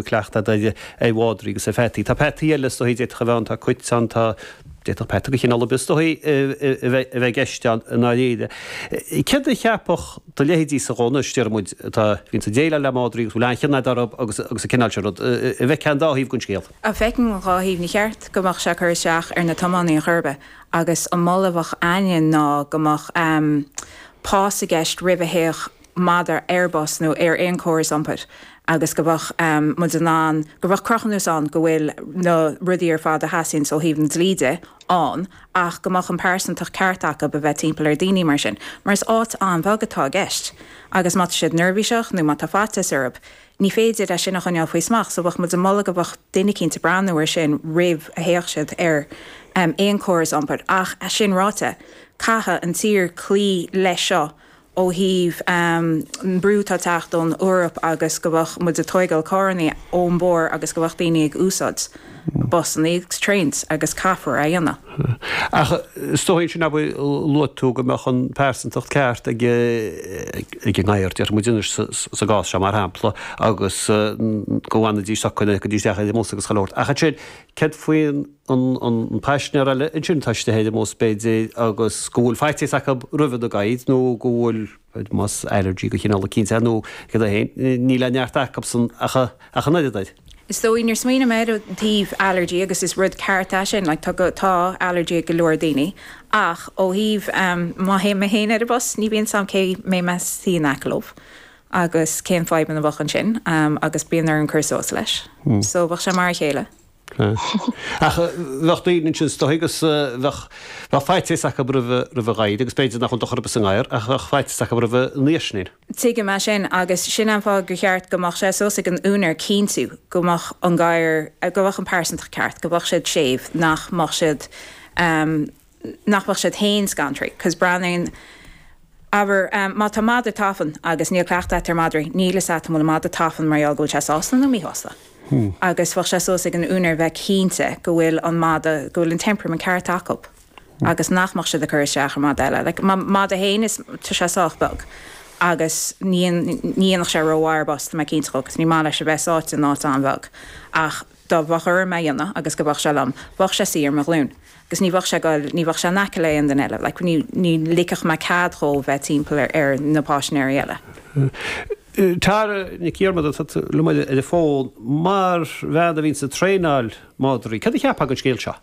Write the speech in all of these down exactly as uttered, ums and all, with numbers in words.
Cleachtadh ar ar mhadraí agus ar pheataí. Tá peataí eile is dóichí d'fhéadfadh a bheith ann, tá cait ann, tá d'fhéadfadh peata de chineál ar bith is dóichí a bheith a bheith i gceist ann i ndáiríre. Céard a cheapfadh do leithéidí-sa anois, déarfaidh muid, atá bhíonns ag déileáil le madraí agus bhfuil an-chion agat orthu agus agus an cineál sin rud, an bhfeicfeá an dá thaobh den scéal? A Feicim an dhá thaobh. Ní cheart go mbeadh sé ag cur isteach ar na tiománaí ar chor ar bith agus an moladh a bheadh againne ná go mbeadh pas i gceist roimh a théadh madra ar bus nó ar aon chóras iompair agus go mbeadh um, muid in ann go mbeadh cruthúnas ann go bhfuil na rudaí ar fad a theastaíonn ó thaobh an dlí de ann ach go mbeadh an pearsantacht ceart acu a bheith timpeall ar daoine mar sin. Mar is áit an-bheag atá i gceist. Agus má tá siad neirbhíseach nó má tá faitíos orthu, ní féidir é sin a choinneáil faoi smacht, so bheadh muid ag moladh go mbeadh duine éicint ag breathnú ar sin roimh a théadh siad ar um, aon chóras iompair ach é sin ráite caithfidh an tír cloí leis seo ó thaobh um, brú atá ag teacht ón Eoraip agus go bheadh muid ag tógáil carranna ón mbóthar agus go bheadh daoine ag úsáid busanna agus trains agus caithfear a dhéanamh. Ach is dóigh sin ab luaigh tú go mbeadh an pearsantacht ceart ag ag an ngadhar déarfaidh muid anois sa gcás seo mar shampla agus go bhfanfaidís socair go dtí isteach ar an mbus agus chuile shórt. Ach ansin céard faoin an paisinéir eile ansin tá istigh ar an mbus b'fhéidir agus go bhfuil faitíos acu roimh na gadhair nó go bhfuil más allergy de chineál eicínt é nó cad é féin níl aon neart acusan ach ach an oiread air. Is dóigh níor smaoinigh mé ar an taobh allergy agus is rud ceart é sin like, tá tá allergy ag go leor daoine ach ó thaobh um, má théim mé féin ar an bus ní bhíonn sam cé mé me sí leo. agus cén fadhb a bheadh ansin um, agus bíonn ar an cur suas leis. Hmm. So bheadh sé mar a chéile. Ach bheadh daoine ansin is dóigh agus bheadh bheadh faitíos acu roimh roimh ghadhair agus b'fhéidir nach bhfuil dochar ar bith sa ngadhar ach bheadh faitíos acu roimh an fhaoisnín. Tuigim é sin agus sin an fáth gur cheart go mbeadh sé suas ag an úinéir cinntiú go mbeadh an gadhar go mbeadh an pearsantacht ceart, go mbeadh siad séimh nach mbeadh siad um, nach mbeadh siad féin scanraithe, cos breathnaíonn Aber um, má tá madra tafann agus níl cleachtadh ar madraí, níl a fhios agat an bhfuil madra tafann mar go bhfuil sé sásta nó míshásta. Hmm. Agus bheadh sé suas ag an úinéir bheith cinnte go bhfuil an madra go bhfuil an temperament ceart acu. Hmm. agus nach mbeadh siad ag cur isteach ar madra eile. Like, madra féin is tá sé sách beag. agus ní dhéanfadh sé rómhaith ar bus mé cinnte agus ní maith leis a bheith sáite in áit an-bheag. Ach dá mbeadh orm é a dhéanamh agus go mbeadh sé liom, bheadh sé suí ar mo ghlúin. Agus ní bheadh sé goil ní bheadh sé in aice le aon duine eile, like, ní, ní ligfeadh mé cead dhó bheith timpeall ar, ar na paisinéirí eile. Tara Nic Dhiarmada liom ar an bhfón mar bhean a bhíonn ag traenáil madraí. Cad a cheapfá den scéal seo?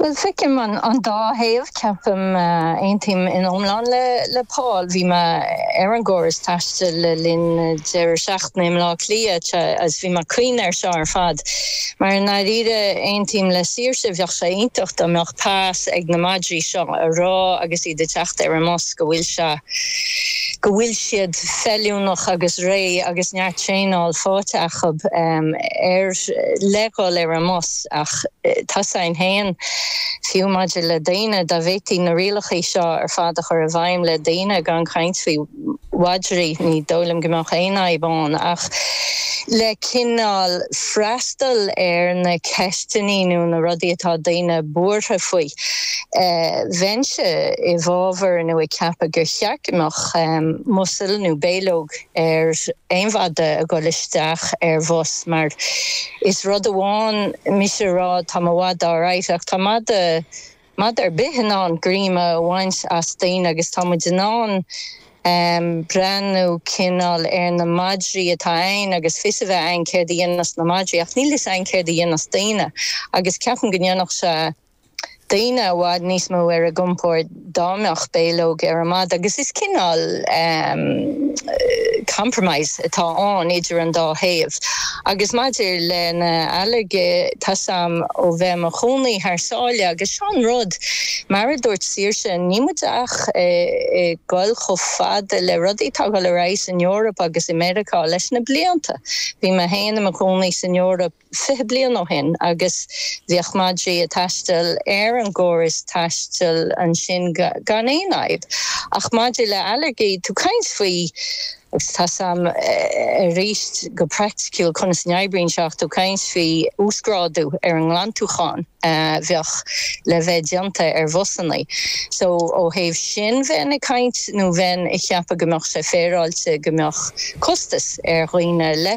Well feicim an, an dá thaobh ceapaim uh, aontaím in iomlán le, le Paul bhí mé ar an gcóras taistil le linn deireadh seachtaine i mBleá Cliath agus bhí mé cuimhneamh air seo ar fad. Mar ndáiríre aontaím le Saoirse bheadh sé iontach dá mbeadh pas ag na madraí seo a rá agus iad ag teacht ar an mbus go bhfuil sé go bhfuil siad feiliúnach agus réidh agus neart traenáil faighte acu um, ar le dhul ar an mbus ach tá sin féin fiú maidir le daoine dá bhféadfaí na rialacha seo ar fad a chur i bhfeidhm le daoine gan caint faoi mhadraí ní dóigh liom go mbeadh aon fhadhb ann ach le cineál freastal ar na ceisteanna nó na rudaí atá daoine buartha faoi. Uh, Bheinnse i bhfabhar nó ag ceapadh gur cheart go mbeadh um, muzzle nó béalóg ar aon mhadra ag dul isteach ar bhus mar is rud amháin mise rá tá mo mhadra alright ach tá madra madra ar bith in ann greim a bhaint as daoine agus tá muid in ann um, breathnú cineál ar na madraí atá ann agus fios a bheith ann céard a dhéanfas na madraí ach níl fhios ann céard a dhéanfas daoine agus ceapaim go ndéanfadh sé daoine i bhfad níos mó ar a gcompord dá mbeadh béalóg ar an madra agus is cineál um, compromise atá ann idir an dá thaobh. Agus maidir le na ailléirgí tá sam ó bheith i mo chónaí thar sáile agus seo an rud mar a dúirt Saoirse níl muid ach ag dul chomh fada le rudaí atá ag dul ar aghaidh san Eoraip agus i Meiriceá leis na blianta. Bhí mé féin i mo chónaí san Eoraip fiche bliain ó shin agus bhíodh madraí ag taisteal ar an gcóras taistil ansin gan aon fhadhb. Ach maidir le ailléirgí tú caint faoi Agus tá sam arís go praiticiúil conas a n-oibríonn sé ach tú caint faoi uasghrádú ar an nglantúchán a bheadh le bheith déanta ar bhusanna. So ó thaobh sin bheinn ag caint nó bheinn ag ceapadh go mbeadh sé féaráilte go mbeadh costas ar dhaoine le